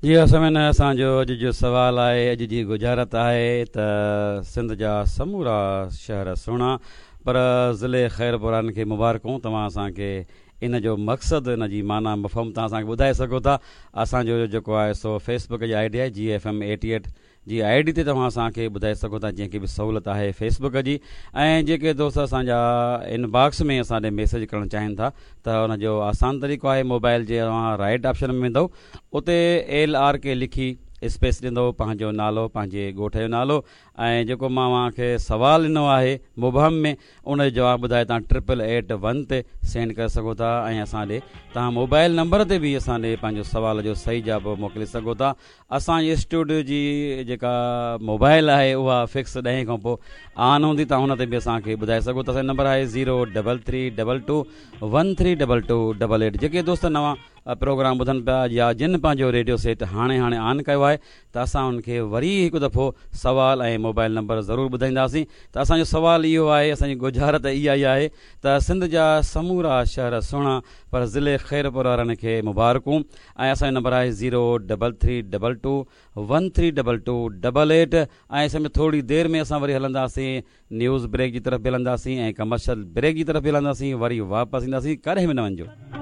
جي ها سامعين اسان جو اڄ جو سوال آهي اڄ جي ڳجهارت آهي ته سنڌ جا سمورا شهر سهڻا پر ضلعي خيرپور وارن کي مبارڪون توهان اسان کي ان جو مقصد ان جي معنيٰ مفهوم توهان اسان کي ٻڌائي سگهو ٿا اسان جو جيڪو آهي سو فيس بڪ جي I D آهي جي ايف ايم ايٽي ايٽ جي I D تي توهان اسان کي ٻڌائي سگهو ٿا جنهن کي به سهولت آهي فيس بڪ جي ۽ جيڪي دوست اسان جا ان باڪس ۾ اسان ڏي ميسيج ڪرڻ چاهين ٿا ته ان جو آسان طريقو آهي موبائل جي اوهان رائٽ آپشن ۾ ويندو اتي ايل آر ڪي لکي اسپيس ڏيندو پنهنجو نالو پنهنجي ڳوٺ جو نالو ۽ جيڪو مان اوهان کي سوال ڏنو آهي مبهم ۾ ان جو جواب ٻڌائي توهان ٽرپل ايٽ ون تي سينڊ ڪري سگهو ٿا ۽ اسان ڏي توهان موبائل نمبر تي به اسان ڏي پنهنجو سوال جو صحيح جواب موڪلي سگهو ٿا اسان جي اسٽوڊيو جي جيڪا موبائل آهي اها فڪس ڏهين کان پوء آن هوندي توهان ان تي به اسان کي ٻڌائي سگهو ٿا اسان جو نمبر آهي zero double three double two one three double two double eight جيڪي دوست نوان پروگرام ٻڌن پيا يا جن پنهنجو ريڊيو سيٽ هاڻي هاڻي آن ڪيو آهي ته اسان انهن کي وري هڪ دفعو سوال ۽ موبائل نمبر ضرور ٻڌائينداسين ته اسان جو سوال اهو آهي اسان جي ڳجهارت اها ئي آهي ته سنڌ جا سمورا شهر سهڻا پر ضلعي خيرپور وارن کي مبارڪون ۽ اسان جو نمبر آهي zero double three double two one three double two double eight ۽ سمجهه ٿوري دير ۾ اسان وري هلنداسين نيوز بريڪ جي طرف به هلنداسين ۽ ڪمرشل بريڪ جي طرف به هلنداسين وري واپس اينداسين ڪڏهن به نه وڃجو.